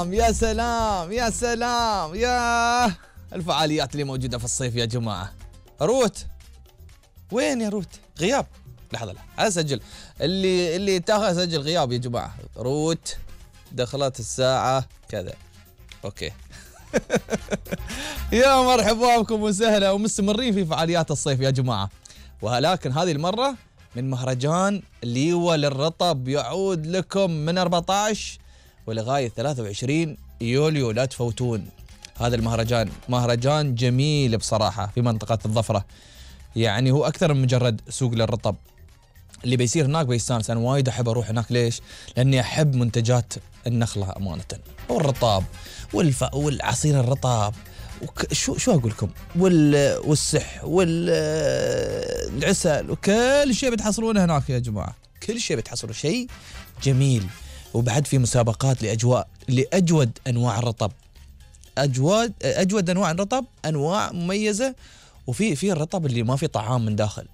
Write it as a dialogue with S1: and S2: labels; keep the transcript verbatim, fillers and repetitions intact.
S1: سلام يا سلام يا سلام يا الفعاليات اللي موجودة في الصيف يا جماعة. روت وين يا روت؟ غياب. لحظة لا أسجل اللي اللي تاخذ سجل غياب يا جماعة. روت دخلت الساعة كذا. أوكي. يا مرحبا بكم وسهلا ومستمرين في فعاليات الصيف يا جماعة. ولكن هذه المرة من مهرجان ليوة للرطب يعود لكم من أربعة عشر ولغاية ثلاثة وعشرين يوليو. لا تفوتون هذا المهرجان. مهرجان جميل بصراحة في منطقة الظفرة. يعني هو أكثر من مجرد سوق للرطب. اللي بيصير هناك بيستانس. أنا وايد أحب أروح هناك. ليش؟ لأني أحب منتجات النخلة أمانة والرطاب والف... والعصير الرطاب وك... شو شو أقول لكم وال... والسح والعسل وكل شيء بتحصلونه هناك يا جماعة. كل شيء بتحصلوا شيء جميل. وبعد في مسابقات لأجواء لأجود أنواع الرطب. أجود أجود أنواع الرطب. أنواع مميزة. وفي في الرطب اللي ما في طعام من داخل.